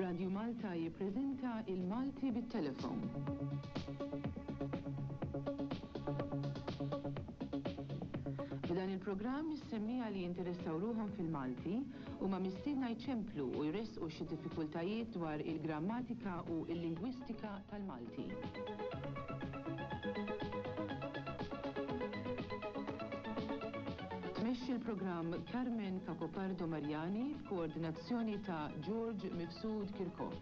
Radju Malta jippreżenta Il-Malti bit-Telefon. F'dan il-programm is-semmiegħa li jinteressaw ruħhom fil-Malti huma mistiedna jċemplu u jressqu xi diffikultajiet dwar il-grammatika u l-lingwistika tal-Malti. Tmexxi l-programm Carmen Cacopardo Mariani f'koordinazzjoni ta' George Mifsud Kirkop.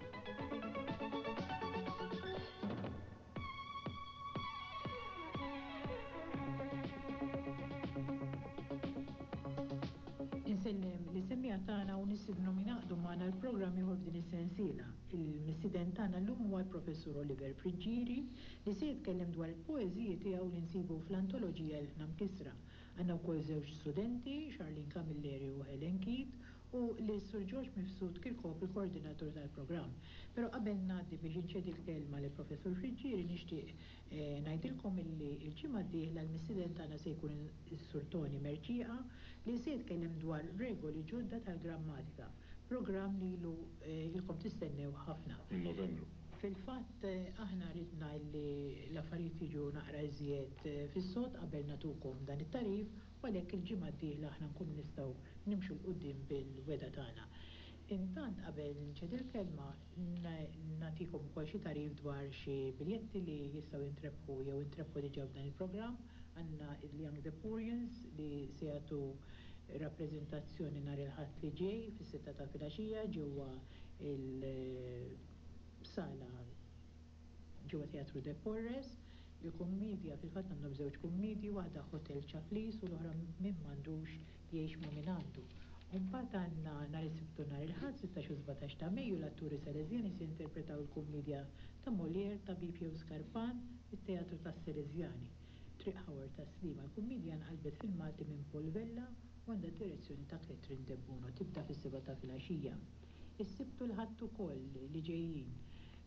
Insellem lis-semmiegħa tagħna u nistidnhom jingħaqdu magħna għal programm ieħor f'din is-sensiela. Il-mistieden tagħna llum huwa l-Professur Oliver Friggieri li se jitkellem dwar il-poeżiji tiegħu li nsibu fl-antoloġija Ilħna Mkissra. Għandna wkoll żewġ studenti, Charlene Camilleri u Helen Keith, u lis-Sur George Mifsud Kirkop il-koordinatur tal-programm. Però qabel ngħaddi biex inċedi l-kelma lill-Professur Friggieri nixtieq ngħidilkom illi l-ġimgħa d-dieħla l-mistieden tagħna se jkun is-Sur Toni Mercieca li se jitkellem dwar regoli ġodda tal-grammatika. Programm li ilu ilkom tistennew ħafna. Minn Novembru. Fil-fatt aħna ridna illi l-affarijiet jiġu naqra iżjed fis-sod qabel nagħtukom dan it-tagħrif u għalhekk il-ġimgħa d-dieħla aħna nkunu nistgħu nimxu 'l quddiem bil-wegħda tagħna. Intant qabel nċedi l-kelma nagħtikom ukoll xi tagħrif dwar xi biljetti li jistgħu jintrebħu jew intrebħu diġà f'dan il-programm. Għandna il-Young Deporians li se jagħtu rappreżentazzjoni nhar il-Ħadd li ġej fis-sitta ta' filgħaxija ġewwa l-sala ġewwa Teatru De Porres. Il-kummiedja, fil-fatt għandhom żewġ kummiedji, waħda Hotel Ċaplis u l-oħra Min m'għandux jgħix ma' min għandu. U mbagħad għandna nhar is-Sibt u nhar il-Ħadd, 16 u 17 ta' Mejju, l-atturi Sależjani se jinterpretaw il-kummiedja ta' Molière, Tabib jew Skarpan, fit-Teatru tas-Sależjani, Triq Howard Tas-Sliema. Il-kummiedja nqalbet fil-Malti minn Paul Vella u għandha d-direzzjoni ta' Catherine Debono. Tibda fis-sebgħa ta' filgħaxija. Is-Sibt u l-Ħadd ukoll li ġejjin.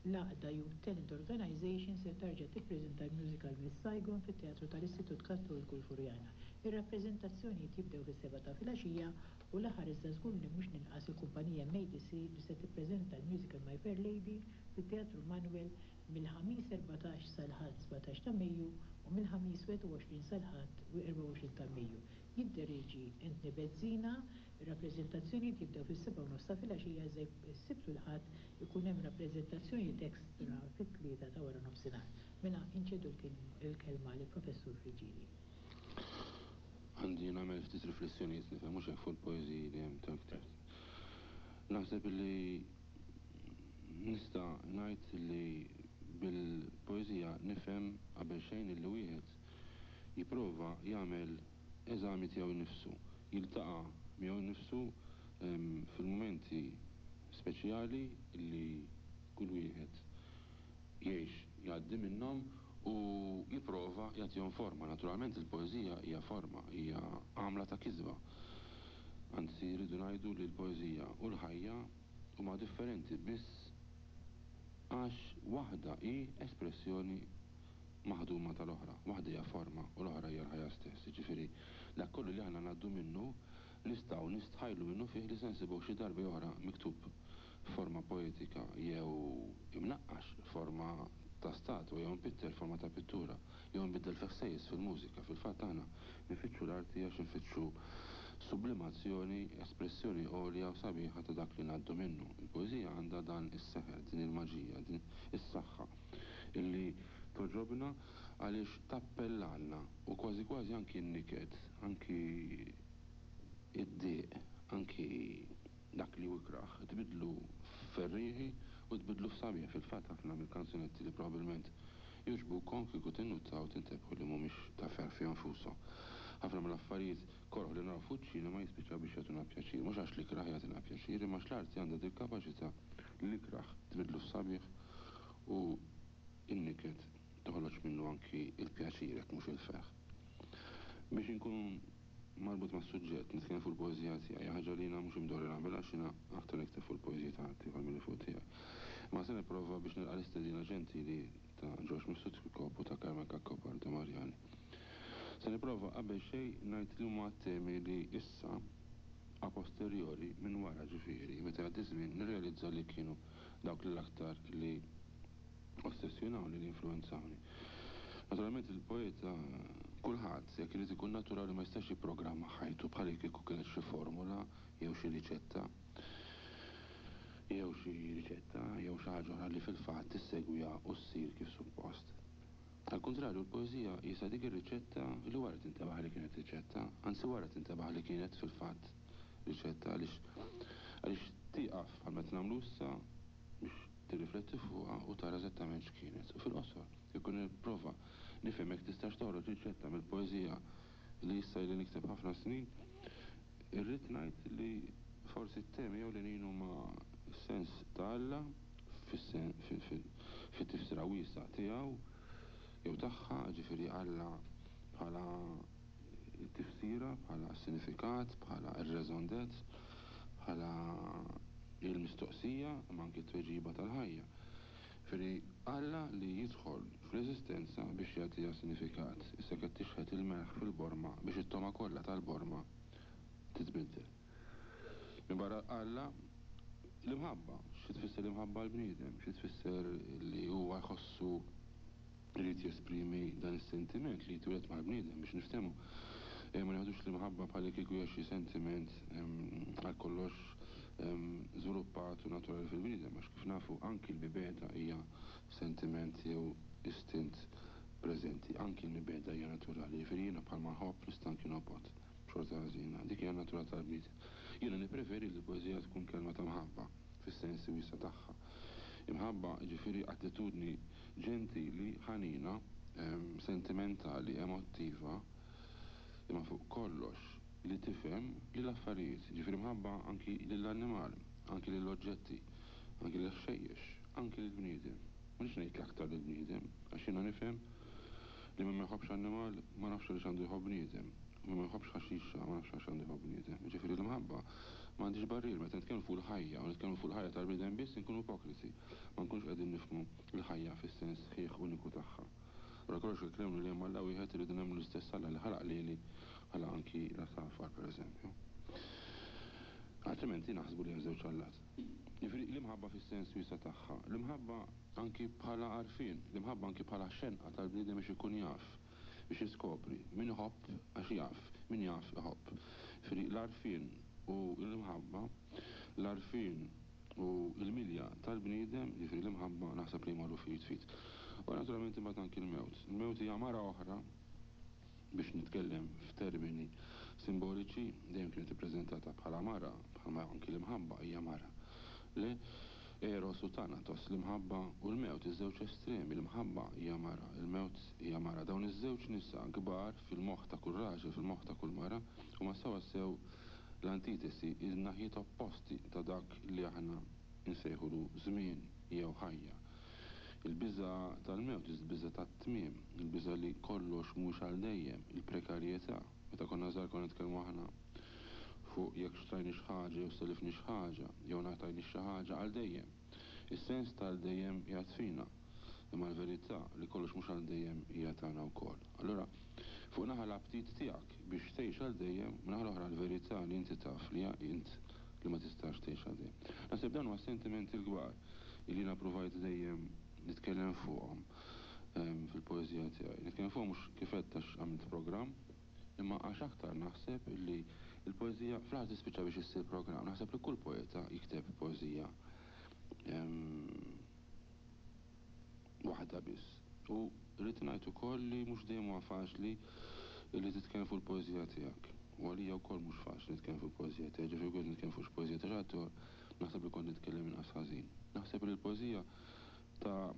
L-għaqda Youth Talent Organization se tarġa' tippreżenta l-musical Miss Saigon fit-Teatru tal-Istitut Kattoliku l-Furjana. Ir-rappreżentazzjonijiet jibdew fis-sebgħa ta' filgħaxija u l-aħħar iżda żgur li mhux l-inqas il-kumpanija MADC li se tippreżenta l-musical My Fair Lady fit-Teatru Manoel mill-Ħamis 14 sal-Ħadd 17 ta' Mejju u mill-Ħamis 21 sal-Ħadd 24 ta' Mejju. Jidderieġi Anthony Bezzina. Ir-rappreżentazzjonijiet jibdew fis-sebgħa u nofs ta' filgħaxija iżda s-Sibt u l-Ħadd ikun hemm rappreżentazzjonijiet extra fit-tlieta ta' wara nofsinhar. Mela inċedu l-kelma lill-Professur Friggieri. Għandi nagħmel ftit riflessjonijiet nifhem mhux hekk fuq il-poeżiji li hemm tal-ktieb. Naħseb li nista' ngħid li bil-poeżija nifhem qabel xejn illi wieħed jipprova jagħmel eżami tiegħu nnifsu, jiltaqa' miegħu nnifsu fil-mumenti speċjali li kull wieħed jgħix jgħaddi minnhom u jipprova jagħtihom forma. Naturalment il-poeżija hija forma, hija għamla ta' kisba. Anzi rridu ngħidu li l-poeżija u l-ħajja huma differenti biss għax waħda hi espressjoni maħduma tal-oħra. Waħda hija forma u l-oħra hija l-ħajja stess. Jiġifieri, dak kollu li aħna ngħaddu minnu nistgħu nistħajlu minnufih li se nsibuh xi darba jew oħra miktub f'forma poetika jew imnaqqax f'forma ta' statwa jew impitter f'forma ta' pittura jew imbiddel fi ħsejjes fil-mużika. Fil-fatt aħna nfittxu l-arti għax infittxu sublimazzjoni, espressjoni għolja u sabiħa ta' dak li ngħaddu minnu. Il-poeżija għandha dan is-seħer, din il-maġija, din is-saħħa illi togħġobna għaliex tappellalna u kważi kważi anki n-niket, anki id-dieq, anki dak li hu ikrah, tbiddlu f'ferrieħi u tbiddlu f'sabiħ. Fil-fatt ħafna mill-kanzunetti li probabbilment jogħġbukom kieku tinnutaw tintebħu li mhumiex ta' ferħ fihom infushom. Ħafna mill-affarijiet koroh li naraw fuq iċ-ċinema jispiċċaw biex jagħtuna pjaċir. Mhux għax l-ikrah jagħtina pjaċir imma għax l-arti għandha dil-kapaċità li l-ikrah tbiddlu f'sabiħ u n-niket toħroġ minnu anki l-pjaċir jekk mhux il-ferħ. Biex inkun marbut mas-suġġett, nitkellem fuq il-poeżija tiegħi, ħaġa li jiena mhux imdorri nagħmilha għax jiena aktar nikteb fuq il-poeżiji ta' ħaddieħor milli fuq tiegħi. Imma se nipprova biex nilqa' l-istedina ġentili ta' George Mifsud Kirkop u ta' Carmen Cacopardo Mariani. Se nipprova qabel xejn ngħid li huma t-temi li issa a posteriori. posteriori, minn wara ġifieri, meta jgħaddi ż-żmien, nirrealizza li kienu dawk li l-aktar li ossessjonawni, li influwenzawni. Naturalment il-poeta, kulħadd, jekk irid ikun naturali ma jistax jipprogramma ħajtu bħal kieku kienet xi formula jew xi riċetta jew xi riċetta jew xi ħaġa oħra li fil-fatt tissegwiha u ssir kif suppost. Għall-kuntrarju, l-poeżija qisha dik ir-riċetta li wara tintebaħ li kienet riċetta, anzi wara tintebaħ li kienet fil-fatt riċetta għaliex għaliex tieqaf bħalma qed nagħmlu issa biex tirrifletti fuqha u tara eżattament x'kienet. U fil-qosor, kieku nipprova nifhem jekk tistax toħroġ riċetta mill-poeżija li issa ili nikteb ħafna snin, irrid ngħid li forsi t-temi ewlenin huma s-sens ta' Alla, fit-tifsira wiesgħa tiegħu jew tagħha, jiġifieri Alla bħala t-tifsira, bħala s-sinifikat, bħala r-raison d'être, bħala l-mistoqsija imma anki t-tweġiba tal-ħajja. Jiġifieri Alla li jidħol fl-eżistenza biex jagħtiha sinifikat, issa qed tixħet il-melħ fil-borma biex it-togħma kollha tal-borma titbiddel. Minbarra Alla, l-imħabba. Xi tfisser l-imħabba għall-bniedem? Xi tfisser li huwa jħossu jrid jesprimi dan is-sentiment li jitwieled mal-bniedem biex niftehmu. Ma nieħdux l-imħabba bħallikieku hija xi sentiment għal kollox żviluppat u naturali fil-bniedem għax kif nafu anki l-mibegħda hija sentiment jew istint preżenti. Anki l-mibegħda hija naturali. Jiġifieri jiena bħalma nħobb nista' anki nobgħod. B'xorta ħażina. Dik hija n-natura tal-bniedem. Jiena nippreferi li l-poeżija tkun kelma ta' mħabba, fis-sensi wiesgħa tagħha. Imħabba, jiġifieri attitudni ġentili, ħanina, sentimentali, emottiva, imma fuq kollox li tifhem lill-affarijiet, jiġifieri mħabba anki lill-annimal, anki lill-oġġetti, anki lill-ħxejjex, anki lill-bniedem. Ma rridx ngħid l-aktar lill-bniedem, għax jiena nifhem li min ma jħobbx annimal ma nafx għaliex għandu jħobb bniedem. U min ma jħobbx ħaxixa ma nafx għaliex għandu jħobb bniedem. Jiġifieri l-imħabba ma għandhiex barrier. Meta nitkellmu fuq il-ħajja u nitkellmu fuq il-ħajja tal-bniedem biss inkunu ipokriti. Ma nkunux qegħdin nifhmu l-ħajja fis-sens sħiħ uniku tagħha. Wara kollox jekk nemmnu li hemm Alla wieħed irridu nemmnu l-istess Alla li ħalaq lili ħalaq anki l-għasafar pereżempju. Altrimenti naħsbu li hemm żewġ allat. Jiġifieri l-imħabba fis-sens wiesa' tagħha. L-imħabba anki bħala għarfien, l-imħabba anki bħala xenqa tal-bniedem biex ikun jaf, biex jiskopri. Min iħobb għax jaf, min jaf iħobb. Jiġifieri l-għarfien u l-imħabba, l-għarfien u l-milja tal-bniedem, jiġifieri l-imħabba naħseb li jmorru f'id f'id. U naturalment imbagħad anki l-mewt. Il-mewt hija mara oħra biex nitkellem f'termini simboliċi, dejjem kienet ippreżentata bħala mara, bħalma anki l-imħabba hija mara. Le, Eros u Thanatos, l-imħabba u l-mewt, iż-żewġ estremi, l-imħabba hija mara, il-mewt hija mara. Dawn iż-żewġ nisa kbar fil-moħħ ta' kull raġel, fil-moħħ ta' kull mara, huma sewwasew l-antitesi, in-naħiet opposti ta' dak li aħna nsejħulu żmien jew ħajja. Il-biża' tal-mewt, il-biża' tat-tmiem, il-biża' li kollox mhuwiex għal dejjem, il-prekarjetà. Meta konna żgħar konna nitkellmu aħna fuq jekk xtrajniex ħaġa jew sellifniex ħaġa, jew ngħatajniex xi ħaġa għal dejjem. Is-sens ta' għal dejjem qiegħed fina, imma l-verità li kollox mhux għal dejjem hija tagħna wkoll. Allura, fuq naħa l-aptit tiegħek biex tgħix għal dejjem, min-naħa l-oħra l-verità li inti taf li int li ma tistax tgħix għal dejjem. Naħseb dawn huma s-sentimenti l-kbar li jiena ppruvajt dejjem nitkellem fuqhom fil-poeżija tiegħi. Nitkellem fuqhom mhux kif għedt għax għamilt programm, imma għax aktar naħseb li l-poeżija fl-aħħar tispiċċa biex issir programm. Naħseb li kull poeta jikteb poeżija waħda biss. U rrid ngħid ukoll li mhux dejjem huwa faċli li titkellem fuq il-poeżija tiegħek. U għalija wkoll mhux faċli nitkellem fuq il-poeżija tiegħi, ġifieri kont nitkellem fuq xi poeżija ta' xi ħadd ieħor naħseb li kont nitkellem inqas ħażin. Naħseb li l-poeżija ta'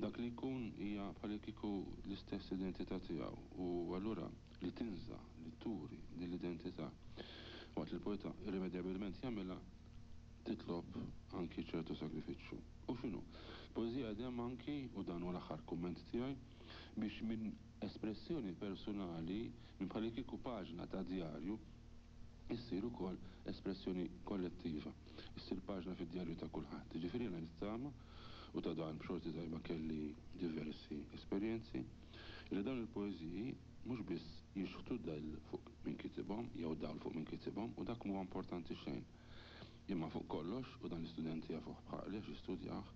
dak li jkun hija bħalikieku l-istess identità tiegħu u allura li tinża', li turi din l-identità waqt li l-poeta irrimedjabilment jagħmilha titlob anki ċertu sagrifiċċju. U x'inhu? Poeżija qiegħda hemm anki, u dan huwa l-aħħar kumment tiegħi, biex minn espressjoni personali, minn bħalikieku paġna ta' djarju, issir ukoll espressjoni kollettiva, issir paġna fid-djarju ta' kulħadd. Jiġifieri jiena nittama, u ta' dan b'xorti tajba kelli diversi esperjenzi, li dawn il-poeżiji mhux biss. Jixħtu dell fuq min kitibhom jew dawl fuq min kitibhom u dak mhuwa importanti xejn. Imma fuq kollox, u dan l-istudenti jafuh bħali għax jistudjah,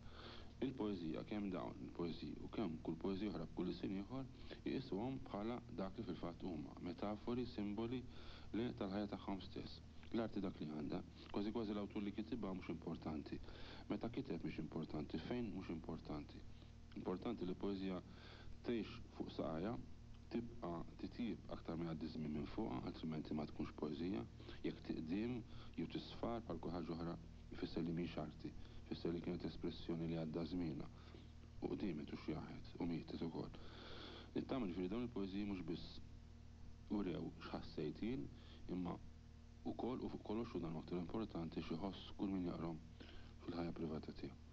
il-poeżija, kemm dawn il-poeżiji u kemm kull poeżija oħra b'kull ilsien ieħor, iqisuhom bħala dak li fil-fatt huma, metafori, simboli, le, tal-ħajja tagħhom stess. L-arti dak li għandha. Kważi kważi l-awtur li kitibha mhux importanti. Meta kiteb mhix importanti, fejn mhux importanti. Importanti li poeżija tgħix fuq saqajha, tibqa' titjieb aktar ma jgħaddi ż-żmien minn fuqha, altrimenti ma tkunx poeżija. Jekk tiqdiem jew tisfar bħal kull ħaġa oħra, ifisser li mhix arti, ifisser li kienet espressjoni li għadda żmienha u qdiemet u xjaħet u mietet ukoll. Nittama ġifieri dawn il-poeżiji mhux biss urew x'ħassejt jien, imma ukoll u fuq kollox u dan hu aktar importanti x'iħoss kull min jaqrahom fil-ħajja privata tiegħu.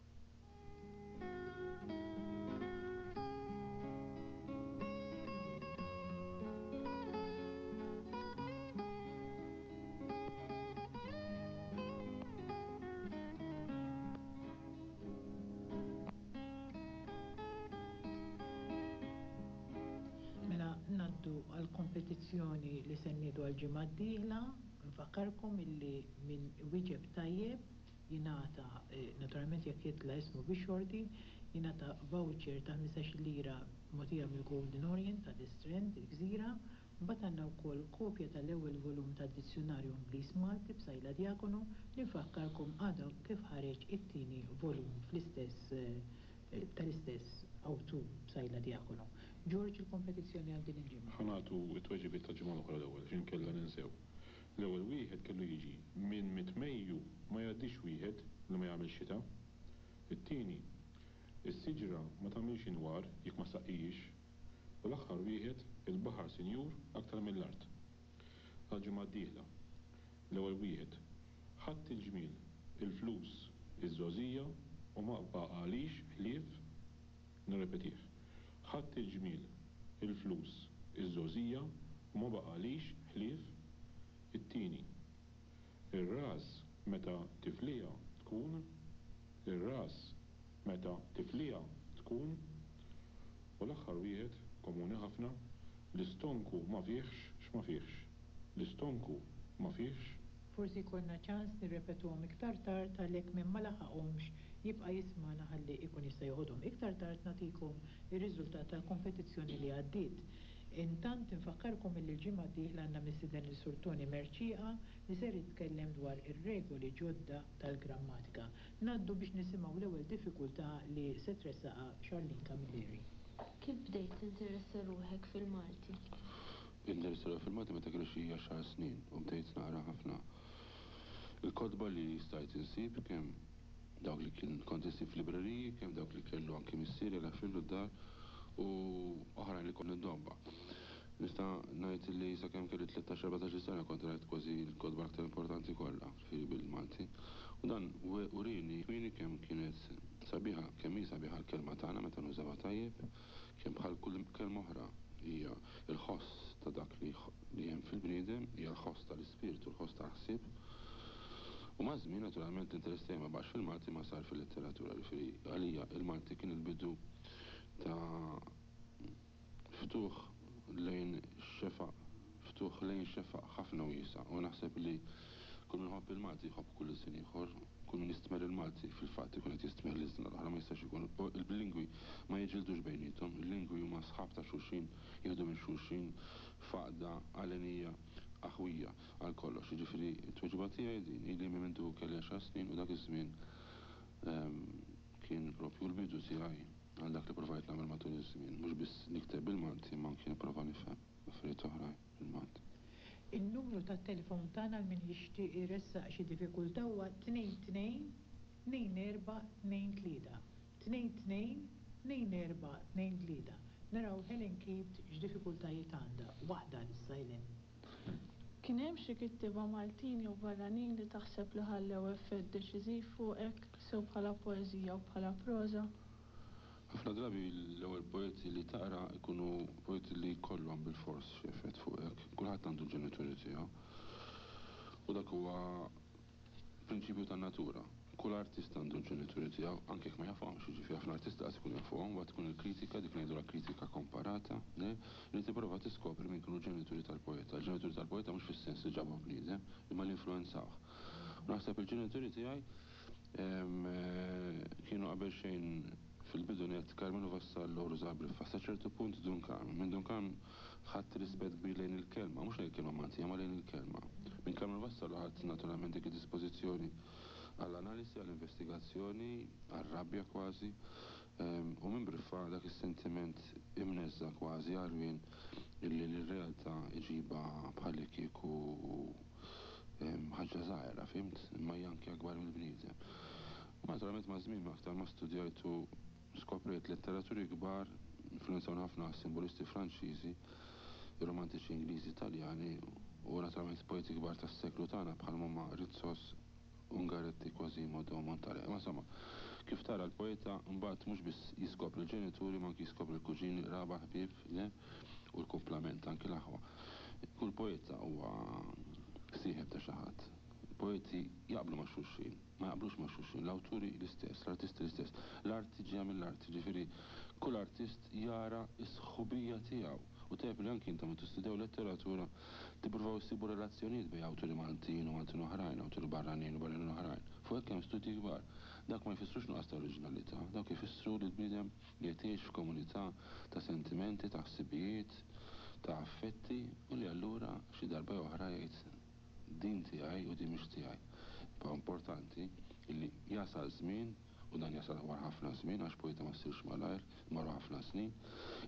Mela ngħaddu għall-kompetizzjoni li se nniedu għall-ġimgħa d-dieħla. Nfakkarkom illi min iwieġeb tajjeb jingħata, naturalment jekk jitla' ismu bix-xorti, jingħata voucher ta' 15-il lira mogħtija mill-Golden Orient ta' The Strand, il-Gżira. Imbagħad għandna wkoll kopja tal-ewwel volum tad-Dizzjunarju Ingliż-Malti b'Sajla Diacono li nfakkarkom għadha kif ħareġ it-tieni volum fl-istess tal-istess awtur Psaila Diacono. George il-kompetizzjoni għal din il-ġimgħa. Ħa nagħtu t-tweġibiet tal-ġimgħa l-oħra l-ewwel għax inkella ninsew. L-ewwel wieħed kellu jiġi, Minn mitt Mejju ma jgħaddix wieħed li ma jagħmilx xita. It-tieni, Is-siġra ma tagħmilx inwar jekk ma ssaqqihiex. U l-aħħar wieħed, Il-baħar sinjur aktar mill-art. Għall-ġimgħa d-dieħla. L-ewwel wieħed, Ħadt il-ġmiel, il-flus, iż-żgħożija u ma baqagħlix ħlief Nirrepetih. Ħadt il-ġmiel, il-flus, iż-żgħożija u ma baqagħlix ħlief it-tieni. Ir-ras meta tifliha tkun Ir-ras meta tifliha tkun U l-aħħar wieħed, komuni ħafna, L-istonku ma fihx x'ma fihx. L-istonku ma fihx. Forsi jkollna ċans nirrepetuhom iktar tard għalhekk min ma laħaqhomx jibqa' jismagħna ħalli jkun jista' joħodhom. Iktar tard nagħtikom ir-riżultat tal-kompetizzjoni li għaddiet. Intant infakkarkom illi l-ġimgħa d-dieħla għandna mistieden lil Sur Toni Mercieca li ser jitkellem dwar ir-regoli ġodda tal-grammatika. Ngħaddu biex nisimgħu l-ewwel diffikultà li se tressaqha Charlene Camilleri. Kif bdejt tinteressa ruħek fil-Malti? Bdejt ninteressa ruħi fil-Malti meta kelli xi għaxar snin u bdejt naqra ħafna l-kotba li stajt insib kemm dawk li kien kont insib f'libreriji, kemm dawk li kellu anki missieri għal d-dar u oħrajn li kont niddomba. Nista' ngħid li sakemm kelli 13 14-il sena kont rajt kważi l-kotba l-aktar importanti kollha, ġifieri bil-Malti. U dan urini kmieni kemm kienet sabiħa, kemm hi sabiħa l-kelma tagħna meta nużawha tajjeb, kemm bħal kull kelma oħra hija l-ħoss ta' dak li li hemm fil-bniedem, hija l-ħoss tal-ispirtu, l-ħoss tal-ħsieb. U maż-żmien naturalment l-interess tiegħi ma baqax fil-Malti imma sar fil-letteratura, jiġifieri għalija l-Malti kien il-bidu ta' ftuħ lejn xefaq, ftuħ lejn xefaq ħafna wiesa' u naħseb li kull min iħobb il-Malti jħobb kull ilsien ieħor, kull min jistmerr il-Malti fil-fatt ikun qed jistmerr l-ilsna l-oħra, ma jistax ikun. Il-lingwi ma jiġġieldux bejniethom, il-lingwi huma sħab ta' xulxin, jieħdu minn xulxin f'għaqda għalenija aħwija għal kollox. Jiġifieri t-tweġiba tiegħi din, ili minn mindu kelli għaxar snin u dak iż-żmien kien proprju l-bidu tiegħi għal dak li provajt nagħmel matul iż-żmien, mhux biss nikteb bil-Malti imma anki nipprova nifhem affarijiet oħrajn bil-Malti. In-numru tat-telefon tagħna għal min jixtieq iressaq xi diffikultà huwa 22 24 23. 2 2 2 4 2 3. Naraw Helen Keith x'diffikultajiet għandha. Waħda għalissa Helen. Kien hemm xi kittieba Maltin jew barranin li taħseb li ħallew effett deċiżiv fuqek, sew bħala poeżija u bħala proża? Ħafna drabi l-ewwel poeti li taqra jkunu poeti li jkollhom bilfors xi effett fuqek. Kulħadd għandu l-ġenituri tiegħu. U dak huwa prinċipju tan-natura. Kull artist għandu l-ġenituri tiegħu, anke jekk ma jafhomx, jiġifieri ħafna artisti lanqas ikunu jafuhom, mbagħad tkun il-kritika, dik li ngħidulha kritika komparata, le, li tipprova tiskopri min kienu l-ġenituri tal-poeta. Il-ġenituri tal-poeta mhux fis-sens li ġabuh bniedem, imma li influwenzawh. U naħseb il-ġenituri tiegħi kienu qabel xejn fil-bidu nett Karmenu Vassallo u Ruża Briffa. Sa ċertu punt Dun Karm. Minn Dun Karm ħadt rispett kbir lejn il-kelma, mhux lejn il-kelma Maltija, imma lejn il-kelma. Minn Karmenu Vassallo ħadt naturalment dik id-dispożizzjoni għall-analisi, għall-investigazzjoni, għar-rabja kważi, u minn Briffa dak is-sentiment imneżża' kważi għarwien illi lir-realtà iġibha bħallikieku ħaġa żgħira, fhimt? Imma hija anki akbar mill-bniedem. U naturalment maż-żmien aktar ma studjajt u skoprejt letteraturi kbar, influwenzawni ħafna s-simbolisti Franċiżi, ir-romantiċi Ingliżi, Taljani u naturalment poeti kbar tas-seklu tagħna bħalma huma Ritsos, Ungaretti, Quasimodo, Montale. Imma insomma, kif tara l-poeta mbagħad mhux biss jiskopri l-ġenituri imma anki jiskopri l-kuġini, l-qraba, ħbieb, le? U l-kumplament, anki l-aħwa. Kull poeta huwa sieħeb ta' xi ħadd. Il-poeti jaqblu ma' xulxin, ma jaqblux ma' xulxin, l-awturi l-istess, l-artisti l-istess. L-arti ġejja mill-arti, jiġifieri kull artist jara s-sħubija tiegħu. U tajjeb li anki intom meta tistudjaw letteratura tippruvaw issibu relazzjonijiet bejn awturi Maltin u Maltin oħrajn, awturi barranin u barranin oħrajn. Fuq hekk hemm studji kbar. Dawk ma jfissrux nuqqas ta' oriġinalità, dawk ifissru li l-bniedem qiegħed jgħix f'komunità ta' sentimenti, ta' ħsibijiet, ta' affetti u li allura xi darba jew oħra jgħid din tiegħi u din mhix tiegħi. Imma importanti illi jasal żmien, u dan jasal wara ħafna żmien għax poeta ma ssirx malajr, imma wara ħafna snin,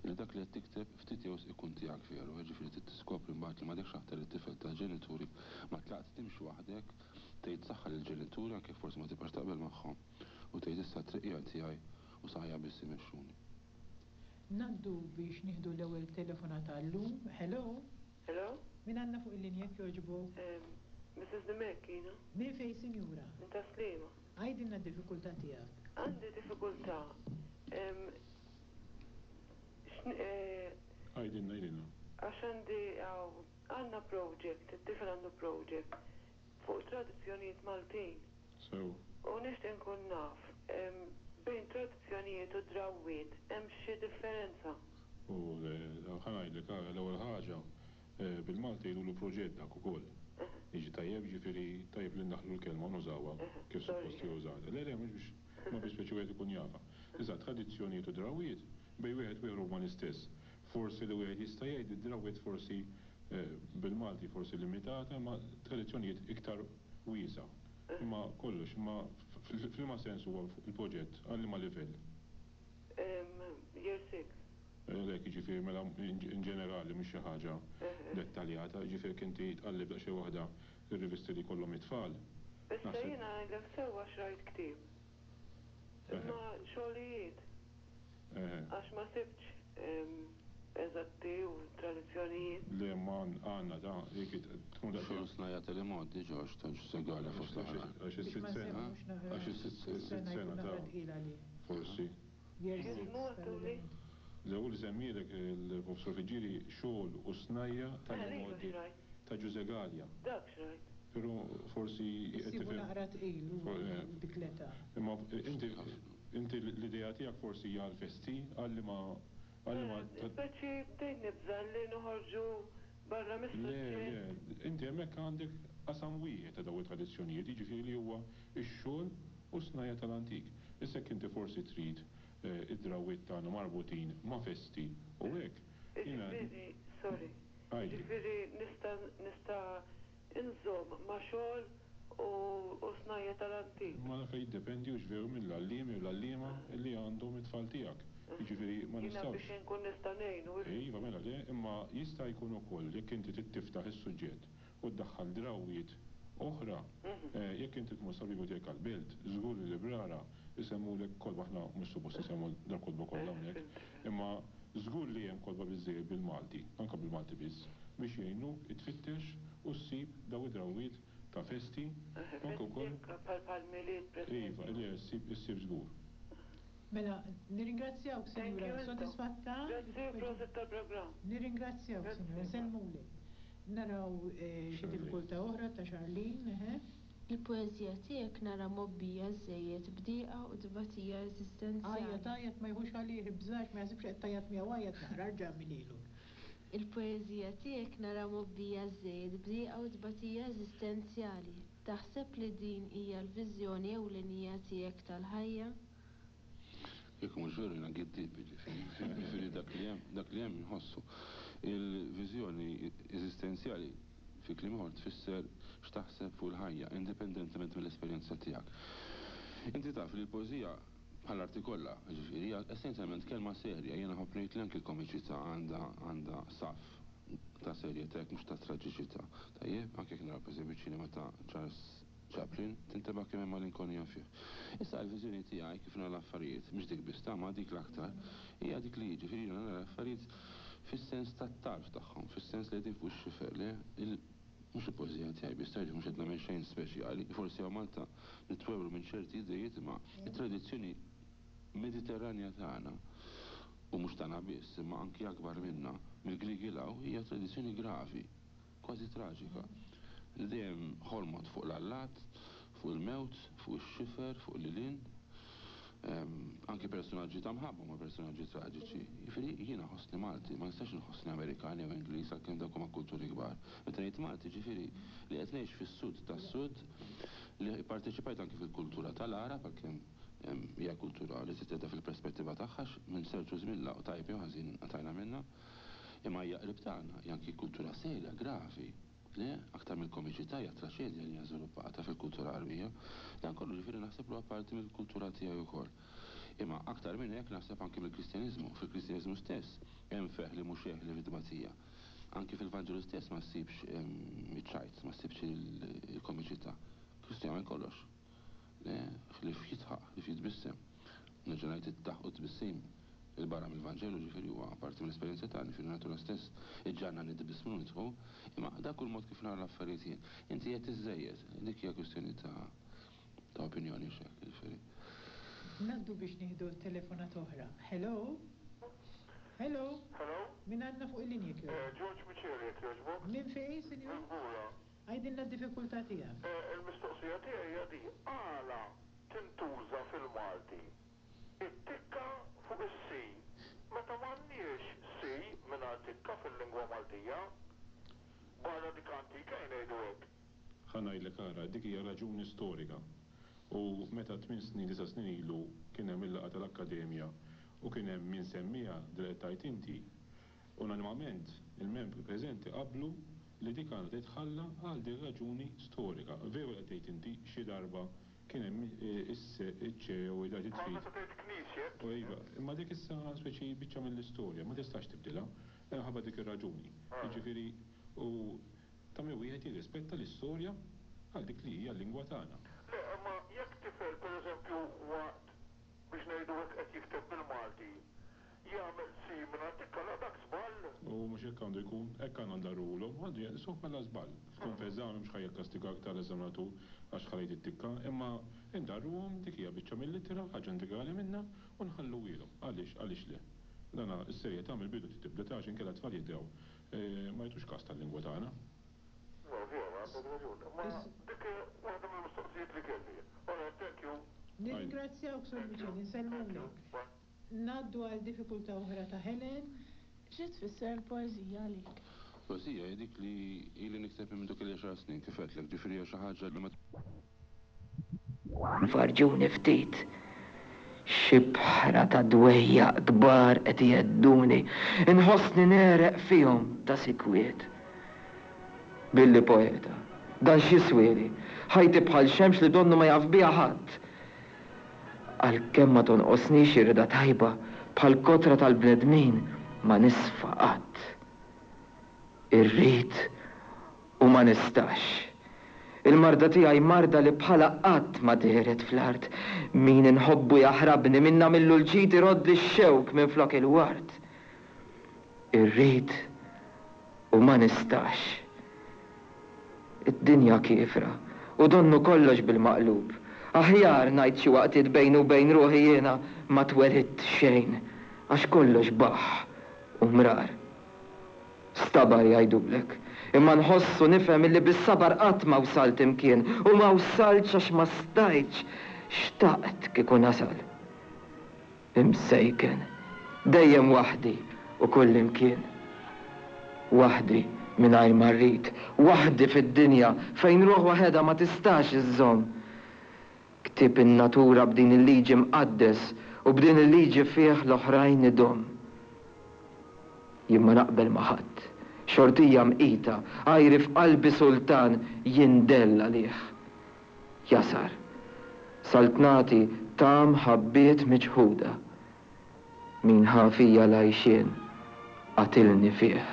illi dak li qed tikteb ftit jew wisq ikun tiegħek veru, jiġifieri trid tiskopri mbagħad li m'għadekx aktar it-tifel tal-ġenituri, ma tlaqt timxi waħdek, tgħid saħħa lill-ġenituri anke jekk forsi ma tibqax taqbel magħhom u tgħid issa t-triq hija tiegħi u saqajja biss imexxuni. Ngħaddu biex nieħdu l-ewwel telefonata għal-lum. Hello? Hello? Min għandna fuq il-linja jekk jogħġbok? Mrs Dimech jiena. Minn fejn sinjura? Minn Tas-Sliema. Għidilna d-diffikultà tiegħek. Għandi diffikultà. Għidilna, għidilna. Għax għandi hawn, għandna project, it-tifel għandu project fuq tradizzjonijiet Maltin. Sew. U nixtieq inkun naf, bejn tradizzjonijiet u drawwiet hemm xi differenza? U le, ħa ngħidlek, ara, l-ewwel ħaġa, bil-Malti jgħidulu proġett dak ukoll. Jiġi tajjeb, jiġifieri tajjeb li ndaħħlu l-kelma u nużawha kif suppost hi użata. Le, le, mhux biex, imma biex speċi wieħed ikun jafha. Issa, tradizzjonijiet u drawwiet, bejn wieħed u ieħor huma l-istess. Forsi li wieħed jista' jgħid li d-drawwiet forsi bil-Malti forsi limitata, imma tradizzjonijiet iktar wiesgħa. Imma kollox, imma f'liema sens huwa l-proġett, għal liema livell? Year 6. Għalhekk, jiġifieri mela in ġenerali mhux xi ħaġa dettaljata, jiġifieri jekk inti tqalleb daqsxejn waħda r-rivisti li jkollhom it-tfal. Issa jiena ngħidlek sewwa xrajt ktieb. Imma xogħlijiet. Għax ma sibtx eżatti u tradizzjonijiet. Le imma għandna ta' jekk tkun daqsxejn. Xogħol snajja' tal-imgħoddi Ġorġ ta' Ġużè Galea fost l-oħrajn. Għax is-sitt sena. Għax is-sitt sena ta' forsi. X'jismu għedtuli? L-ewwel li semmielek il-Professur Friggieri xogħol u snajja' tal-imgħoddi ta' Ġużè Galea. Dak xrajt. Però forsi qed Issibu tifhem. naqra tqil hu dik l-età. Imma inti inti l-idea tiegħek forsi hija għall-festi, għal liema għal liema. Speċi bdejt nibża' li noħorġu barra Le, mis-suġġett. le, inti hemmhekk għandek qasam wieħed ta' dawn it-tradizzjonijiet, jiġifieri li huwa x-xogħol u s-snajja' tal-antik. Issa jekk inti forsi trid id-drawwiet tagħna marbutin ma' festi u hekk, jiena. Jiġifieri, sorry, Għidli. jiġifieri nista' nista' inżomm ma' xogħol u u snajja' tal-antik. Imma dak jiddependi hux veru mill-għalliem jew l-għalliema li għandhom it-tfal tiegħek. Jiġifieri ma Jiena nistgħux. biex inkun nista' ngħinu, ifhem. Iva, mela le, imma jista' jkun ukoll jekk inti trid tiftaħ is-suġġett u ddaħħal drawwiet oħra, jekk inti tmur sal-bibljoteka l-Belt, żgur li l-librara jsemmulek kotba, aħna mhux suppost insemmu dal-kotba kollha hawnhekk, imma żgur li hemm kotba biżżejjed bil-Malti, anke bil-Malti biss, biex jgħinuk tfittex u ssib dawn id-drawwiet ta' festi, anke wkoll. Festi bħal Milied pereżempju. Iva, le, ssib, issib żgur. Mela, nirringrazzjawk, Thank Sinjura. you intom. Sodisfatta? Grazzi u prosit tal-programm. Nirringrazzjawk, Grazzi. Sinjura. Nsellmulek. Naraw eh, xi Charlene. diffikultà oħra ta' Charlene, eħe. Il-poeżija tiegħek nara mgħobbija żżejjed b'dieqa u tbatija eżistenzjali. Għajjat, għajjat ma jieħux għalih, ibżax, ma jaħsibx li qed tgħajjat miegħu, għajjat naqra, erġa' agħmilhielu. Il-poeżija tiegħek nara mgħobbija żżejjed b'dieqa u tbatija eżistenzjali. Taħseb li din hija l-viżjoni ewlenija tiegħek tal-ħajja? Kieku mhux veru jiena giddieb, jiġifieri, jiġifieri dak li hemm, dak li hemm inħossu. Il-viżjoni eżistenzjali, fi kliem ieħor, tfisser x'taħseb fuq il-ħajja, indipendentement mill-esperjenza tiegħek. Inti taf li l-poeżija, bħall-arti kollha, jiġifieri, hija essenzjalment kelma serja. Jiena nħobb ngħid li anki l-komiċità għandha għandha saff ta' serjetà jekk mhux ta' traġiċità. Tajjeb? Anke jekk naraw pereżempju ċ-ċinema ta' Charles Chaplin, tintebaħ kemm hemm malinkonija fih. Issa l-viżjoni tiegħi kif nara l-affarijiet, mhix dik biss ta' ma dik l-aktar, hija dik li jiġifieri jiena nara l-affarijiet fis-sens tat-tarf tagħhom, fis-sens li qegħdin fuq ix-xifer, le, il, mhux il-poeżija tiegħi biss, tgħidx mhux qed nagħmel xejn speċjali, forsi hawn Malta nitwewlu minn ċerti idejiet imma t-tradizzjoni Mediterranja tagħna, u mhux tagħna biss, imma anki akbar minna, mill-Griegi 'l hawn, hija tradizzjoni gravi. kważi traġika, li dejjem ħolmot fuq l-allat, fuq il-mewt, fuq ix-xifer, fuq lil hinn. Anki personaġġi ta' mħabba huma personaġġi traġiċi. Jiġifieri jiena nħossni Malti, ma nistax inħossni Amerikan jew Ingliż għalkemm dawk huma kulturi kbar. Meta ngħid Malti jiġifieri li qed ngħix fis-Sud tas-Sud, li pparteċipajt anki fil-kultura tal-Għarab għalkemm hija kultura li trid teħodha fil-perspettiva tagħha għax minn ċertu żmien 'l hawn tajjeb jew ħażin inqatgħajna minnha. Imma hija qrib tagħna, hija anki kultura serja, gravi. Le, aktar mill-komiċità hija t-traċedja li hija żviluppata fil-kultura Għarbija. Dan kollu ġifieri naħseb li huwa parti mill-kultura tiegħi wkoll. Imma aktar minn hekk naħseb anki mill-Kristjaniżmu. Fil-Kristjaniżmu stess hemm ferħ li mhux eħli fit-tbatija. Anki fil-Vanġelu stess ma ssibx iċ-ċajt, ma ssibx il-komiċità. Kristu jagħmel kollox. Le, ħlief jidħaq, ħlief jitbissem. Nerġa' ngħid id-daħq u t-tbissim 'il barra mill-Vanġelu, ġifieri huwa parti mill-esperjenza tagħna, ġifieri n-natura stess iġġagħalna nitbissmu u nidħku, imma dak hu l-mod kif nara l-affarijiet jien. Inti qed iżżejjed, dik hija kwistjoni ta' ta' opinjoni hux hekk, jiġifieri. Ngħaddu biex nieħdu telefonata oħra. Hello? Hello? Hello? Min għandna fuq il-linja jekk jogħġbok? George Miceli jekk jogħġbok. Minn fejn, sinjur? Minn Bura. Għidilna d-diffikultà tiegħek. Il-mistoqsija tiegħi hija din, għala tintuża fil-Malti it-tikka fuq is-si meta m'għandniex si mingħajr tikka fil-lingwa Maltija? Barra dik antika ejja ngħidu hekk. Ħa ngħidlek ara, dik hija raġuni storika. U meta tmien snin, disa' snin ilu kien hemm il-laqgħa tal-Akkademja u kien hemm min semmiha din li qed tgħid inti, Unanimament, il-membri preżenti qablu li dik għandha titħalla għal din raġuni storika. Veru li qed tgħid inti, xi darba kien hemm is-se, iċ-ċe jew id trid. Bħal meta tgħid knisjet. U iva, imma dik issa speċi biċċa mill-istorja, ma tistax tibdilha, minħabba dik ir-raġuni. Jiġifieri, u ta' min wieħed jirrispetta l-istorja għal dik li hija l-lingwa tagħna. Le, imma jekk tifel, pereżempju, waqt, biex ngħidu hekk qed jikteb bil-Malti, Jagħmel si mingħajr tikka la dak żball. U mhux hekk għandu jkun, hekk għandna ndarruhulhom, għandu jeqisuh bħala żball. Tkun f'eżami mhux ħa jikkastigak tal-eżaminatur għax ħalejt it-tikka, imma ndarruhom, dik hija biċċa mill-ittra, ħaġa integrali minnha, u nħalluhielhom. Għaliex, għaliex le? Dana, is-serjetà mill-bidu trid tibda ta' għax inkella t-tfal jiddew ma jagħtux kas tal-lingwa tagħna. Le, vera, għandek raġun. Imma dik waħda mill-mistoqsijiet li kelli. All right, thank you. Nirringrazzjawk, Sur Miceli, nsellmulek. Ngħaddu għal diffikultà oħra ta' Helen. Xi tfisser il-poeżija għalik? Poeżija hi dik li ili nikteb minn mindu kelli għaxar snin, kif għedtlek, ġifieri hija xi ħaġa li ma. Farrġuni ftit. X'ibħra ta' dwejjaq kbar qed ihedduni, inħossni negħreq fihom ta' sikwit. Billi poeta, dan x'jiswieli? Ħajti bħal xemx li donnu ma jaf biha ħadd. Għalkemm ma tonqosnix ir-rieda tajba, bħall-kotra tal-bnedmin ma nisfa qatt. Irrid u ma nistax. Il-marda tiegħi marda li bħalha qatt ma dehret fl-art. Min inħobbu jaħrabni, min nagħmillu l-ġid iroddli x-xewk minflok il-ward. Irrid u ma nistax. Id-dinja kiefra u donnu kollox bil-maqlub. Aħjar, ngħid xi waqtiet bejni u bejn ruħi jiena ma twelidt xejn għax kollox baħħ u mrar. Stabar jgħidulek. Imma nħoss u nifhem illi bis-sabar qatt ma wsalt imkien u ma wsaltx għax ma stajtx, xtaqt kieku nasal. Imsejken, dejjem waħdi u kullimkien. Waħdi mingħajr ma rrid, waħdi fid-dinja fejn ruħ waħedha ma tistax iżżomm. Ktieb in-natura b'din il-liġi mqaddes u b'din il-liġi fih l-oħrajn idomm. Jien ma naqbel ma' ħadd, xortija mqita, għajri f'qalbi sultan jindell għalih. Jasar. Saltnati ta' mħabbiet miċħuda. Min ħa fija l-għajxien, qatilni fih.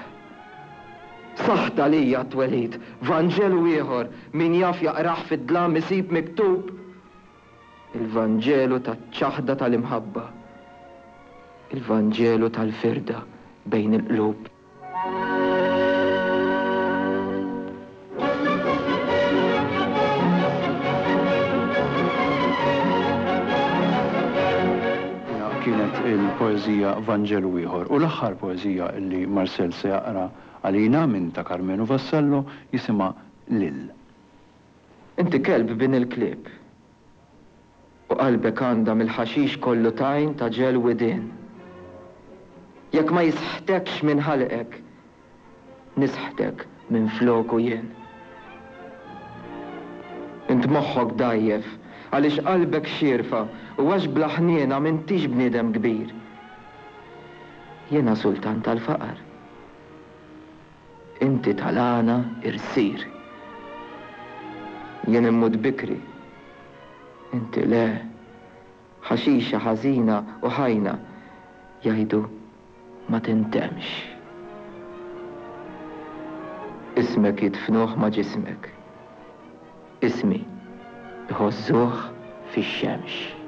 Saħt għalija t-twelid, Vanġelu ieħor, min jaf jaqrah fid-dlam isib miktub il-Vanġelu taċ-ċaħda tal-imħabba, il-Vanġelu tal-firda bejn il-qlub. Kienet il-poeżija Vanġelu Ieħor u l-aħħar poeżija li Marcel se jaqra għalina minn ta' Karmenu Vassallo jisimha Lil. Inti kelb bin il-klieb. U qalbek għandha mill-ħaxix kollu tajn ta' ġel widien. Jekk ma jisħtekx minn ħalqek, nisħtek minfloku jien. Int moħħok dgħajjef għaliex qalbek xierfa u għax bla ħniena m'intix bniedem kbir. Jiena sultan tal-faqar. Inti tal-għana irsir. Jien immut bikri. Inti le. Ħaxixa ħażina u ħajna, jgħidu ma tintemmx. Ismek jidfnuh ma' ġismek. Ismi jħożżuh fix-xemx.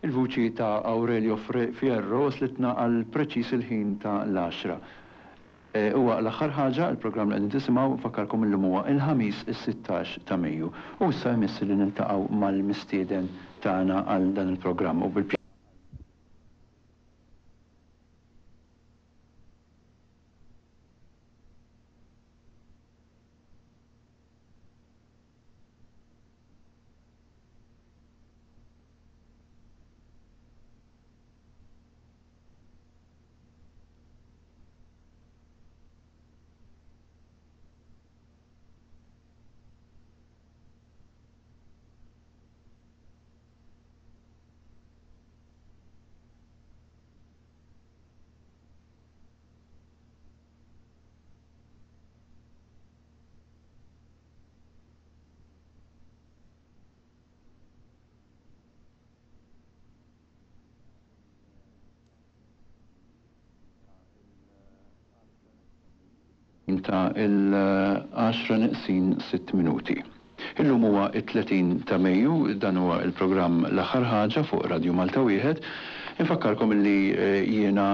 Il-vuċi ta' Aurelio Fierro waslitna għal preċiż il-ħin ta' l-għaxra. Huwa l-aħħar ħaġa, il-programm li qegħdin tisimgħu, nfakkarkom illum huwa il-Ħamis is-16 ta' Mejju. U issa jmiss li niltaqgħu mal-mistieden tagħna għal dan il-programm u bil Ta' il-għaxra neqsin sitt minuti. Illum huwa t-30 ta' Mejju, dan huwa l-programm L-Aħħar Ħaġa fuq Radju Malta Wieħed. Infakkarkom illi jiena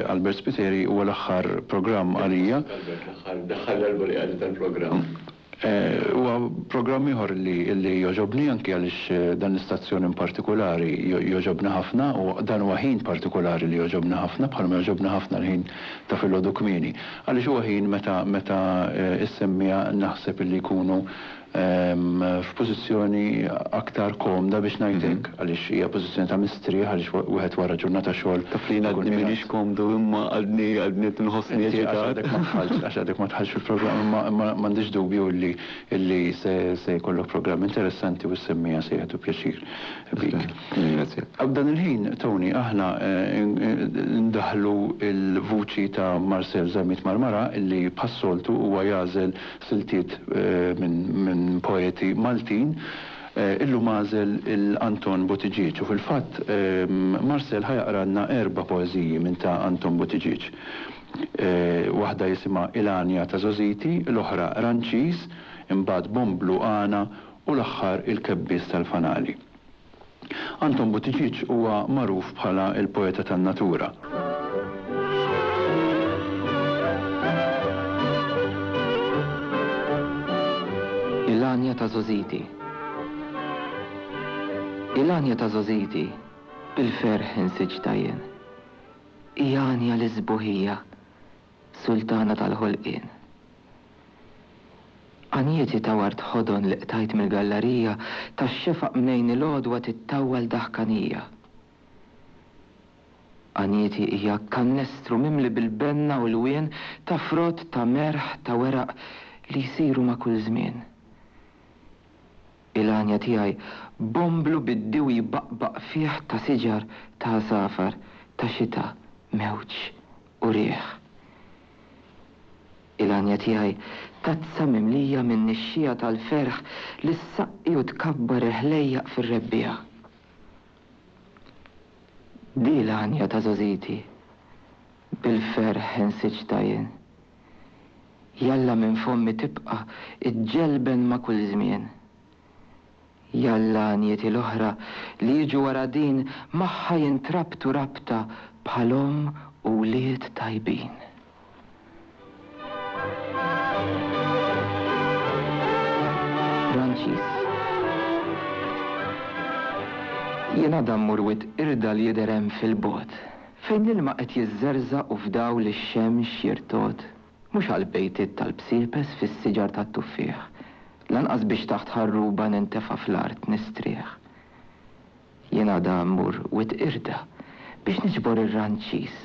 Albert Spiteri huwa l-aħħar programm għalija. Albert, l-aħħar darba li għaddi tal-programm. Huwa programm ieħor li li jogħġobni anki għaliex dan l-istazzjon in partikulari jogħġobni ħafna u dan huwa ħin partikulari li jogħġobni ħafna bħalma jogħġobni ħafna l-ħin ta' filgħodu kmieni. Għaliex huwa ħin meta meta s-semmiegħa naħseb illi jkunu f'pożizzjoni aktar komda biex ngħid hekk, għaliex hija pożizzjoni ta' mistrieħ għaliex wieħed wara ġurnata xogħol. Taf li jien għadni m'iniex komdu imma għadni għadni qed inħossni eċitat. Għax għadek ma dħaltx għax għadek ma dħaltx fil-programm imma imma m'għandix dubju illi illi se se jkollok programm interessanti u s-semmiegħa se jieħdu pjaċir bik. Nirringrazzjak. F'dan il-ħin, Tony, aħna ndaħħlu l-vuċi ta' Marcel Zammit Marmara illi bħas-soltu huwa jagħżel siltiet minn poeti Maltin, illum għażel 'il Anton Buttigieg u fil-fatt Marcel ħa jaqralna erba' poeżiji minn ta' Anton Buttigieg. Waħda jisimha Il-Għanja ta' Żgħożiti, l-oħra Ranċiż, imbagħad Bomblu Għana u l-aħħar Il-Kebbies tal-Fanali. Anton Buttigieg huwa magħruf bħala l-poeta tan-natura. Il-għanja ta' żgħożiti Il-għanja ta' żgħożiti bil-ferħ insiġtha jien. Hija għanja lis-sbuħija, sultana tal-ħolqien. Għanjieti ta' ward ħodon li qtajt mill-gallarija tax-xefaq mnejn il-għodwa tittawwal daħkanija. Għanjieti hija kannestru mimli bil-benna u lwien ta' frott ta' merħ ta' weraq li jsiru ma' kull żmien. Il-għanja tiegħi bomblu bid-diwi jbaqbaq fih ta' siġar ta' għasafar ta' xita mewġ u riħ. Il-għanja tiegħi tazza mimlija min-nixxiegħa tal-ferħ li ssaqqi u tkabbar il-ħlejjaq fir-rebbiegħa. Di l-għanja ta' żgħożiti, bil-ferħ insiġtha jien. Jalla minn fommi tibqa' ġġelben ma' kull żmien. Jalla għanjieti l-oħra li jiġu wara din magħha jintrabtu rabta bħal omm u wlied tajbin. Franċiż. Jien għada mmur wied qirda li jidher hemm fil-bogħod, fejn l-ilma qed jiżżerżaq u f'dawl ix-xemx jirtogħod. Mhux għall-bejtiet tal-bsiepes fis-siġar tat-tuffieħ, lanqas biex taħt ħarruba nintefa' fl-art nistrieħ. Jien għada mmur Wied Qirda biex niġbor ir-ranċiż,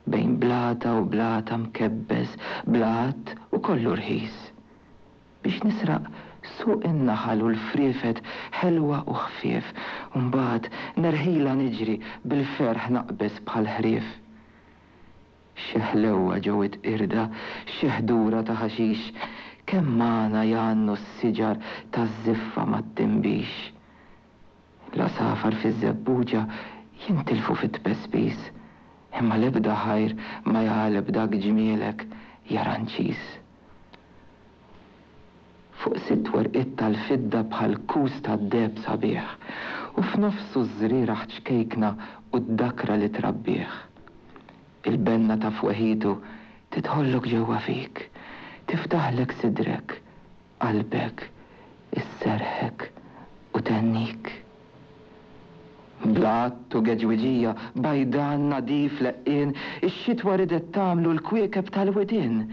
bejn blata u blata mkebbes bla għadd u kollu rħis. Biex nisraq suq in-naħal u l-friefet ħelwa u ħfief, u mbagħad nerħilha niġri bil-ferħ naqbeż bħall-ħrief. Xi ħlewwa ġo Wied Qirda, xi ħdura ta' ħaxix, kemm magħna jgħannu s-siġar taż-żiffa mat-tinbix. L-għasafar fiż-żebbuġa jintilfu fit-tpespis, imma l-ebda ħajr ma jagħleb dak ġmielek, ja Ranċiż. Fuq sitt werqiet tal-fidda bħal kus tad-deheb sabiħ. U f'nofsu ż-żrieragħ ċkejkna u d-dakra li trabbih. Il-benna ta' fweħitu tidħollok ġewwa fik, tiftaħlek sidrek, qalbek, isserrħek u thennik. Bla għadd u geġwiġija, bajdan, nadif, leqqien, ix-xitwa ridet tagħmlu l-kwiekeb tal-widien.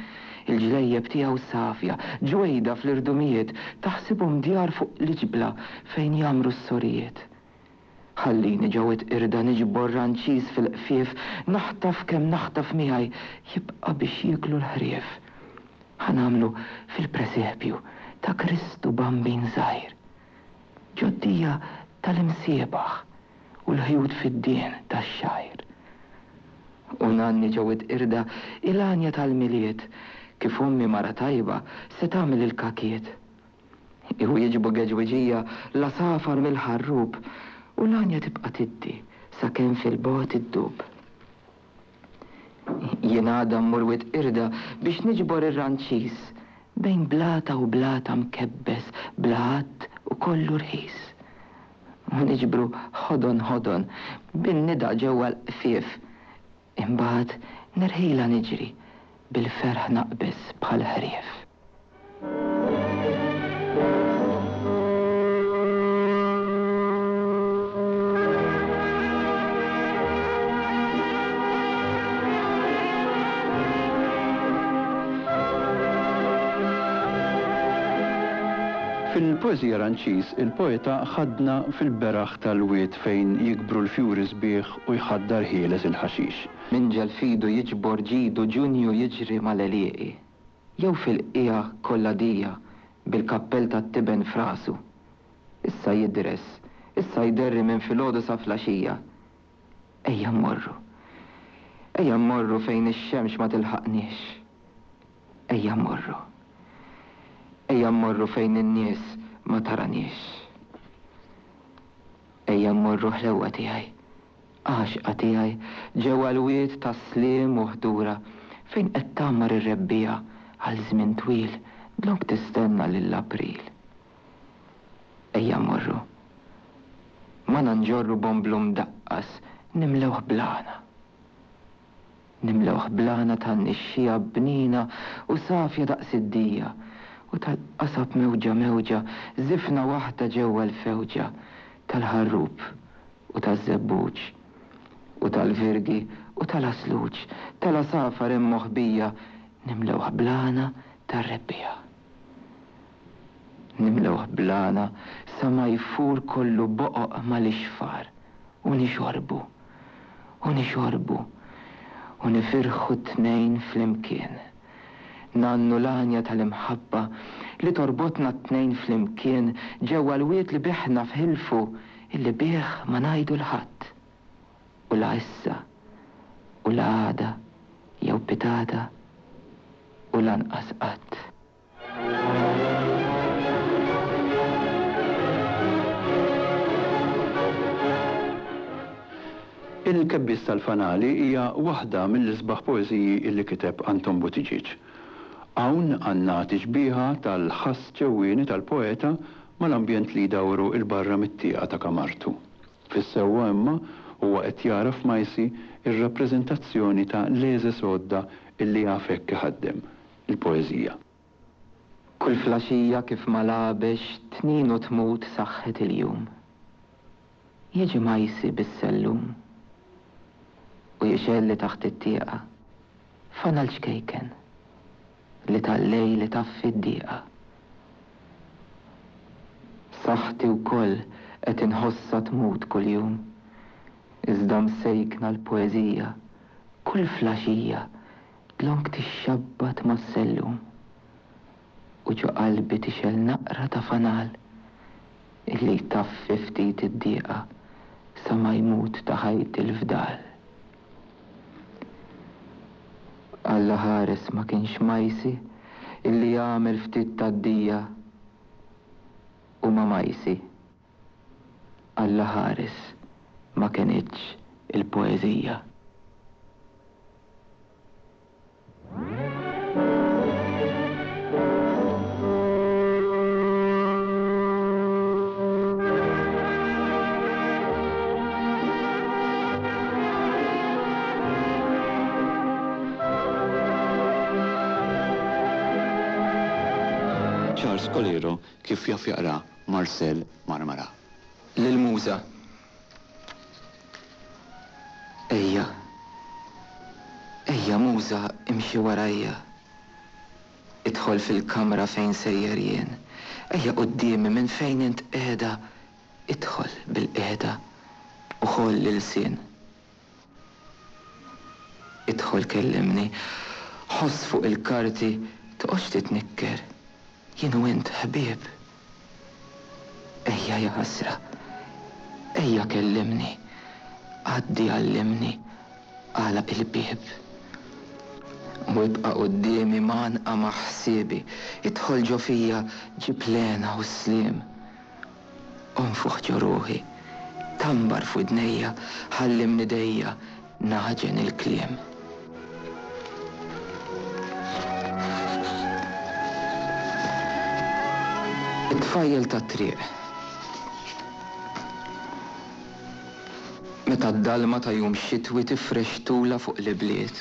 Il-ġlejjeb tiegħu safja, ġwejda fl-irdumijiet, taħsibhom djar fuq l-iġbla fejn jgħammru s-sorijiet. Ħallini ġo Wied Qirda niġbor ranċiż fil-qfief, naħtaf kemm naħtaf miegħi, jibqa' biex jieklu l-ħrief. Ħa nagħmlu fil-presepju ta' Kristu Bambin żgħir. Ġoddija tal-imsiebaħ u l-ħjut fiddien tax-xgħir. U ngħanni ġo Wied Qirda il-għanja tal-Milied, kif ommi mara tajba se tagħmel il-kakiet. Iwieġbu geġwiġija l-għasafar mill-ħarrub u l-għanja tibqa' tiddi sakemm fil-bogħod iddub. Jien għada mmur Wied Qirda biex niġbor ir-ranċiż bejn blata u blata mkebbes bla għadd u kollu rħis. U niġbru ħodon ħodon bin-nida ġewwa l-qfief Imbagħad nirħilha niġri, bil-ferħ naqbeż bħal ħrief. Fil-poeżija Ranċiż, il-poeta ħadna fil-beraħ tal-wied fejn jikbru l-fjuri sbieħ u jħaddar ħieles il-ħaxix. Minġel f'idu jiġbor ġidu Ġunju jiġri mal-għelieqi, jew fil-qiegħa kollha dija bil-kappell tat-tiben f'rasu. Issa jidres, issa jderri minn filgħodu sa flaxija. Ejja mmorru. Ejja mmorru fejn ix-xemx ma tilħaqniex. Ejja mmorru. Ejja mmorru fejn in-nies ma taraniex. Ejja mmorru ħlewwa tiegħi, għaxqa tiegħi, ġewwa l-wied ta' sliem u ħdura, fejn qed tgħammar ir-rebbiegħa għal żmien twil dlonk tistenna lil April. Ejja mmorru. Magħna nġorru bomblu mdaqqas nimlewh bl-għana. Nimlewh bl-għana tan-nixxiegħa bnina u safja daqs id-dija, u tal-qasab mewġa mewġa, żifna waħda ġewwa l-fewġa tal-ħarrub u taż-żebbuġ, u tal-virgi u tal-għasluġ, tal-għasafar hemm moħbija, nimlewh bl-għana tar-rebbiegħa. Nimlewh bl-għana sa ma jfur kollu boqoq mal-ixfar u nixorbu. U nixorbu, u nifirħu t-tnejn flimkien. Ngħannu l-għanja tal-imħabba li torbotna t-tnejn flimkien ġewwa l-wied li bih nafħilfu illi bih ma ngħidu 'l ħadd. U la issa, u la għada, jew pitgħada, u lanqas qatt. Il-Kebbies tal-Fanali hija waħda mill-isbaħ poeżiji li kiteb Anton Buttigieg. Hawn għandna tixbiha tal-ħass ġewwieni tal-poeta mal-ambjent li jdawru 'l barra mit-tieqa ta' kamartu. Fis-sewwa imma huwa qed jara f'Majsi r-rappreżentazzjoni ta' l-għeżeż għodda illi jaf hekk iħaddem. il-poeżija. Kull flaxija kif ma lagħbex tnin u tmut saħħet il-jum. Jiġi Majsi bis-sellum u jixgħelli taħt it-tieqa fanal ċkejken li tal-lejl itaffi d-dieqa. Saħħti wkoll qed inħossha tmut kuljum, iżda msejkna l-poeżija kull flaxija Dlonk tixxabbat mas-sellum u ġo qalbi tixgħel naqra ta' fanal illi jtaffi ftit id-dieqa sa ma jmut ta' ħajti l-fdal. Alla ħares ma kienx Majsi illi għamel ftit tad-dija u ma' Majsi. Alla ħares ma kenitx il-poeżija. Charles Coleiro kif jaf jaqra Marcel Marmara. Lill-Muża. Ejja. Ejja Muża imxi warajja. Idħol fil-kamra fejn sejjer jien. Ejja quddiemi minn fejn int qiegħda idħol bil-qiegħda u ħoll l-ilsien. Idħol kellimni, ħoss fuq il-karti toqgħodx titnikker, jien u int ħbieb. Ejja jaħasra, ejja kellimni, għaddi għallimni, agħlaq il-bieb. U ibqa' quddiemi mgħannqa ma' ħsiebi, idħol ġo fija ġib l-hena u s-sliem. Onfoħ ġo ruħi, tambar f'widnejja, ħalli mnidejja nagħġen il-kliem. It-tfajjel tat-triq. Meta d-dalma ta' jum xitwi tifrex tulha fuq l-ibliet.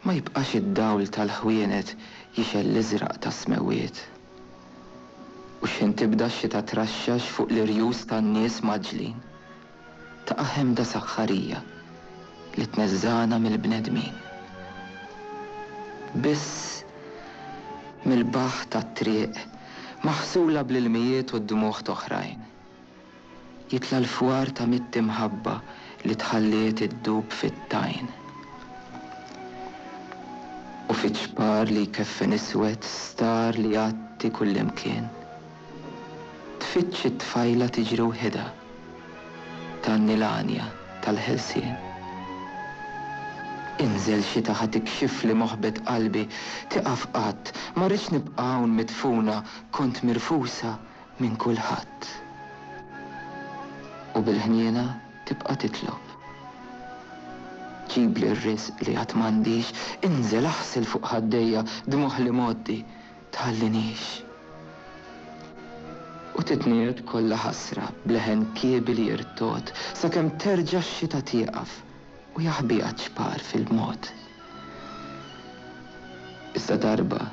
Ma jibqax id-dawl tal-ħwienet jixgħel l-iżraq tas-smewwiet. U x'ħin tibda x-xita traxxax fuq l-irjus tan-nies mgħaġġlin, taqa' ħemda saħħarija li tneżżagħna mill-bnedmin. Biss mill-baħħ tat-triq maħsula bl-ilmijiet u d-dmugħ t'oħrajn. Jitla' l-fwar ta' mitt imħabba li tħalliet iddub fit-tajn. U fiċ-ċpar li jkeffen iswed star li jgħatti kullimkien. Tfittx it-tfajla tiġri wħidha, tgħanni l-għanja tal-ħelsien. Inżel xita ħa tikxifli moħbet qalbi, tieqaf qatt, ma rridx nibqa' hawn midfuna, kont mirfusa minn kulħadd. U bil-ħniena tibqa' titlob. Ġibli r-riżq li għad m'għandix, inżel aħsel fuq ħaddejja dmugħ l-imgħoddi, tħallinix. U titniegħed kollha ħasra b'leħen kiebi li jirtogħod sakemm terġa' x-xita tieqaf u jaħbiha ċ-ċpar fil-mod. Iżda darba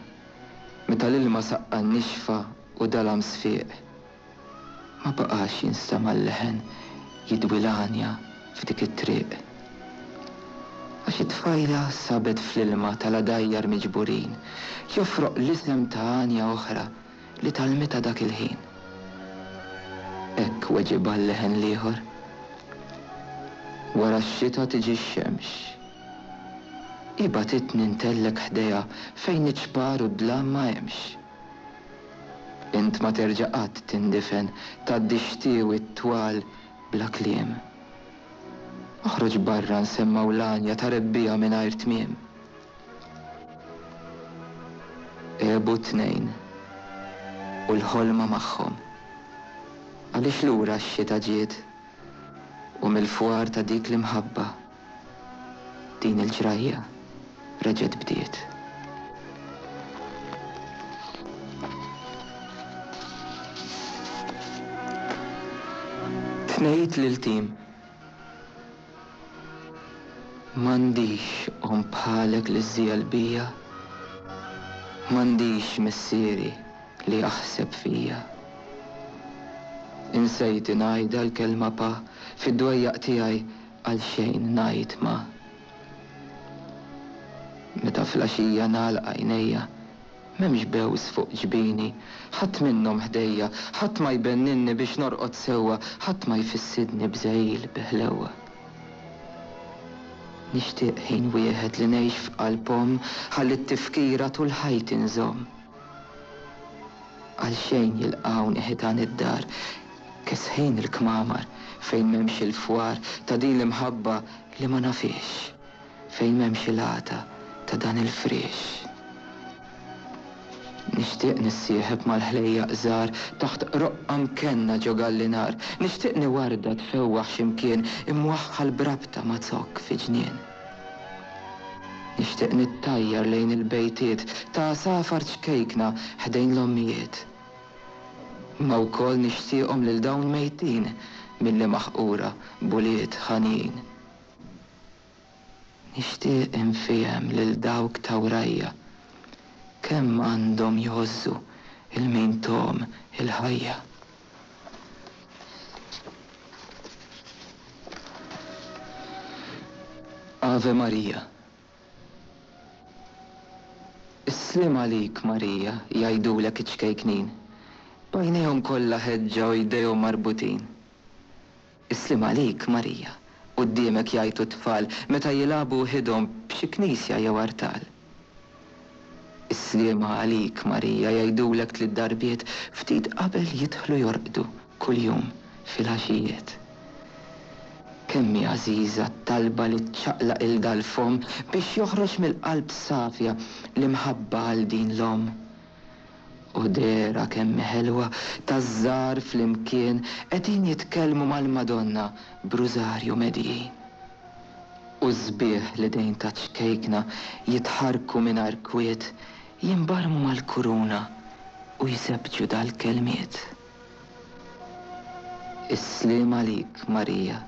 Meta l-ilma saqqa n-nixfa u dalam sfiq, ma baqax jinstema' l-leħen jidwi l-għanja f'dik it-triq. Għax it-tfajla sabet fl-ilma tal-għadajjar miġburin jofroq l-isem ta' għanja oħra li tgħallmitha dak il-ħin. Hekk weġibha l-leħen l-ieħor. Wara x-xita tiġi x-xemx. Hi bagħtitni ntellgħek ħdejha fejn iċ-ċpar u d-dlam ma hemmx. Int ma terġa' qatt tindifen tgħaddi x-xtiewi t-twal bla kliem. Oħroġ barra nsemmgħu l-għanja ta' rebbiegħa mingħajr tmiem. Għebu t-tnejn u l-ħolma magħhom. Għaliex lura x-xita ġiet u mill-fwar ta' dik l-imħabba Din il-ġrajja reġgħet bdiet. Tnejt lil Tim. M'għandix omm bħalek li żżiegħel bija. M'għandix missieri li jaħseb fija. Insejt ingħidha l-kelma pa fid-dwejjaq tiegħi Għalxejn ngħid ma. Meta fl-għaxija nagħlaq għajnejja, m'hemmx bews fuq ġbini, ħadd minnhom ħdejja, ħadd ma jbenninni biex norqod sewwa, ħadd ma jfissidni b'żegħil bi ħlewwa. Nixtieq ħin wieħed li ngħix f'qalb omm ħalli t-tifkira tul ħajti nżomm. Għalxejn jilqgħuni ħitan id-dar, Kesħin il-kmamar fejn m'hemmx il-fwar ta' din l-imħabba li ma nafhiex, fejn m'hemmx il-għata ta' dan il-friex. Nixtieq nissieħeb mal-ħlejjaq żgħar taħt qroqqa mkenna ġo gallinar, nixtieqni warda tfewwaħ xi mkien imwaħħal b'rabta ma' zokk fi ġnien. Nixtieq nittajjar lejn il-bejtiet ta' għasafar ċkejkna ħdejn l-ommijiet. Imma wkoll nixtieqhom lil dawn mejtin milli maħqura b'ulied ħanjin. Nixtieq infiehem lil dawk ta' wrajja kemm għandhom jgħożżu 'il min thom il-ħajja. Ave Maria. Is-sliem għalik, Marija, jgħidulek iċ-ċkejknin, b'għajnejhom kollha ħeġġa u jdejhom marbutin. Is-sliem għalik, Marija, quddiemek jgħajtu t-tfal meta jilagħbu wħidhom b'xi knisja jew artal. Is-sliema għalik, Marija, jgħidulek tliet darbiet ftit qabel jidħlu jorqdu kuljum filgħaxijiet. Kemm hi għażiża t-talba li ċċaqlaq 'il dal-fomm biex joħroġ mill-qalb safja l-imħabba għal din l-omm. U dehra kemm hi ħelwa taż-żgħar flimkien qegħdin jitkellmu mal-Madonna b'rużarju medijin. U s-sbieħ l-idejn taċ-ċkejkna jitħarrku mingħajr kwiet jinbarmu mal-kuruna u jsebbġu dal-kelmiet. Is-sliem għalik, Marija.